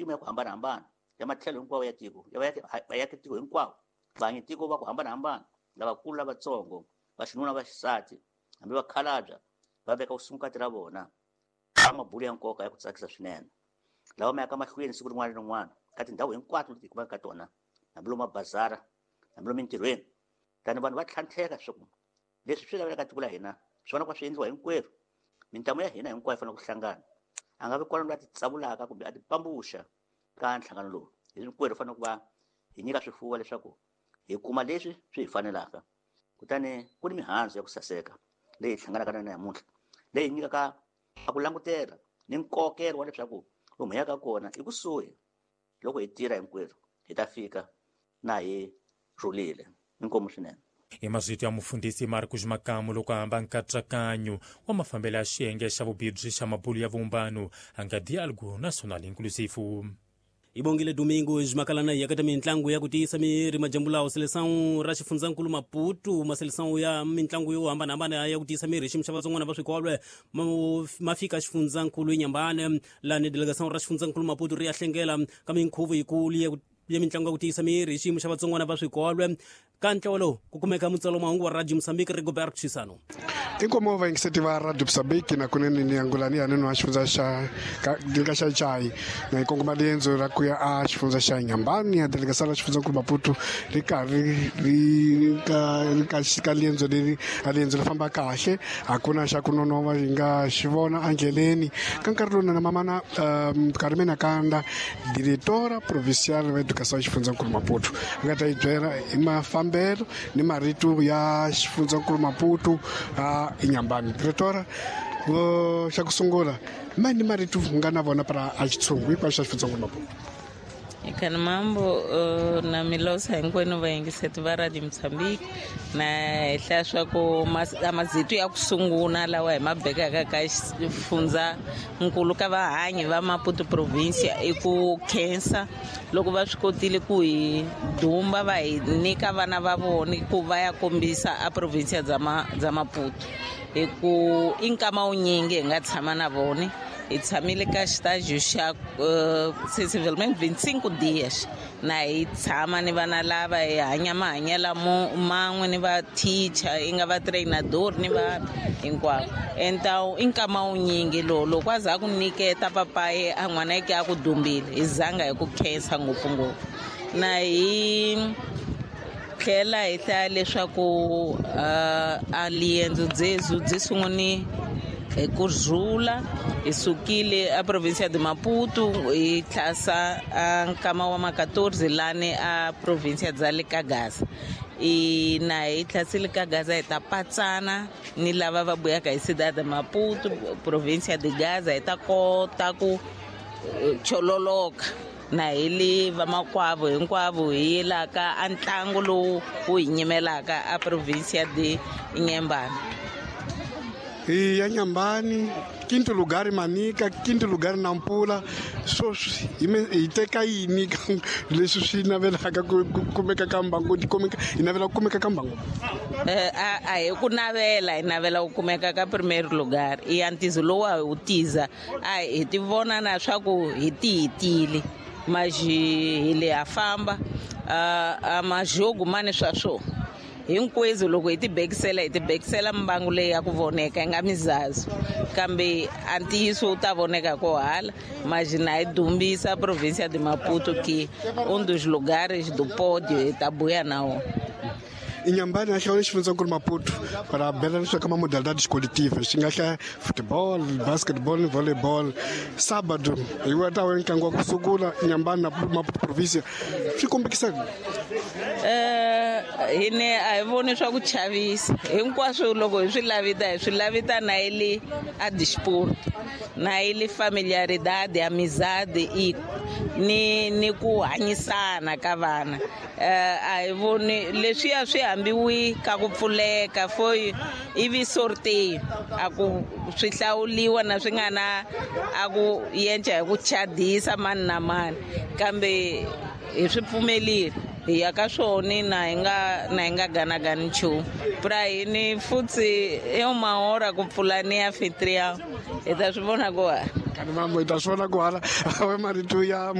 Mimpimo ya ku hambanahambana ya matlhelo hinkwawo ya tiko, ya vaakatiko hinkwavo, vahanyitiko va ku hambanahambana, lavakulu, lavatsongo, vaxinuna, vaxisati, hambi vakhalabya, va veka vusungukati ra vona ka mabulo ya nkoka ya ku tsakisa swinene lawa ma yaka mahlweni siku rin'wana ni rin'wana ka tindhawu hinkwato leti hi kumaka ka tona, hambi lomu mabazara, hambi lomu mintirhweni. Tani vanhu va tlhantlheka leswaku leswi swi laveka tiko la hina swona kwa swi endliwa hinkwerhu. Mintamu ya hina hinkwayo yi fanele ku hlangana. A nga vi kona loyi a titsavulaka kumbe a tipambuxa ka nhlangano lowu. Hinkwerhu fanele ku va hi nyika swifuwo leswaku hi kuma leswi swi hi fanelaka. Kutani ku ni mihandzu ya ku saseka leyi hi hlanganaka na yona namuntlha, leyi nyikaka a ku langutela ni nkokelo wa leswaku lomu hi yaka kona i kusuhi. Loko hi tirha hinkwerhu hi ta fika na hi rhulile. Inkomu swinene. Hi mazito ya mufundhisi Marcos Makamu loko a hamba nkatsakanyo wa mafambelo ya xiyenge xa vubibyi xa mabulu ya vumbano a nga Diálogo Nacional Inclusivo. Ibongile Domingo Makalana yakata mintlangu ya ku tiyisa miri majambu lawo seleção ra xifundzankulu Maputo maseleção ya mintlangu yo hambanahambana ya ku tiyisa miri xiyimo xa vatsongwana va swikolwe ma fika xifundzankulu Inhambane lani delegação ra xifundzankulu Maputo ri ya hlengela ka minkhuvo yikulu ya mintlangu ya ku tiyisa miri xiyimo xa vatsongwana va swikolwe. Ka ntlawa lowu ku kumeka mutsalo mahungu wa Radio Mozambique Rigobert Chisano. Inkomo va yingiseti va Radio Mozambique na kunene ni angulani ya nenu wa xifundza xa ka xa Chai na hi kongoma riendzo ra ku ya a xifundza xa Inhambane ya delegação ra xifundzankulu Maputo ri karhi ri ka ka riendzo leri a riendzo ri famba kahle, a ku na xa ku nonova hi nga xi vona endleleni. Ka nkarhi lowu na mamana Carmen Kanda, diretora provincial wa educação xifundzankulu Maputo, a nga ta yi byela hi mafambelo ni marito ya xifundzankulu Maputo a Inhambane. Diretora, xa ku sungula mani marito nga na vona para a xitshungu hinkwaswo xa xifundzankulu Maputo? Ikani mambo na milosa hinkwenu vayingiseti va Radio Mozambique na hi hlaya swa ku mazito ya ku sungula lawa hi ma bekaka ka xifundza nkulu ka vahanyi va Maputo province i ku khensa loko va swi kotile ku hi dumba va hi nyika vana va vona ku va ya kombisa a province bya Maputo hi ku i nkama wunyingi hi nga tshama na vona. Hi tshamile ka xitaji xa sensivelmente 25 dias na hi tshama ni vana lava hi hanya mahanyelo man'we ni va teacher i nga va trainador ni va hinkwavo. Então i nkama wunyingi lowu loko a za a ku nyiketa papayi a n'wana yeke a ku dumbile hi zanga hi ku khensa ngopfungopfu. Na hi tlhela hi hlaya leswaku a liendzo dzezu byi sunguni hi ku rhula. Hi sukile a provincia de Maputo hi tlhasa a nkama wa ma 14 lani a provincia bya le ka Gaza. I na hi tlhasile ka Gaza hi ta patsana ni lava va buyaka hi Cidade de Maputo, provincia de Gaza, hi ta kota ku chololoka na hi le vamakwavo hinkwavo hi yelaka a ntlangu lowu wu hi nyimelaka a provincia de Inhambane. Hi ya Inhambane, quinto lugar Manica, quinto lugar Nampula. Sweswi hi teka yini leswi swi navelaka ku kumeka ka mbangu, kumeka hi navela ku kumeka ka mbangu? A hi ku navela, hi navela ku kumeka ka primeiro lugar. I ya ntizo lowu a hi wu tiza, a hi ti vona na swa ku hi tiyitile maji hi le ha famba a majogo mani swa swona hinkwenu. Loko hi tibekisela, hi tibekisela mbangu leyi ya ku voneka yi nga mizazu, kambe a ntiyiso wu ta voneka ko hala. Mas na hi dumbisa província de Maputo que um dos lugares do pódio hi ta buya na wona. Inhambane a hlawula xifundzankulu Maputo para bela leswaku ka ma-modalidades coletivas xi nga hlaya football, basketball ni volleyball. Sábado hi wa ta va ntlangu wa ku sungula Inhambane na Maputo provincia, swi kombekisa Hine a hi voni swa ku chavisa hinkwaswo. Loko hi swi lavita, hi swi lavita na yi le a disport, na yi le familiaridade, amizade i ni ku hanyisana ka vana. A hi voni leswiya swi hambiwi ka ku pfuleka foi ivi sorteio a ku swi hlawuliwa na swi nga na a ku yenca hi ku chadisa mani na mani, kambe hi swi pfumelile hi ya ka swona na hi nga ganagani nchumu. Pra hini futhi i uma hora ku pfula ni anfitrião, hi ta swi vona ku hala. Kani mambo, hi ta swi vona ku hala. Awe marito ya.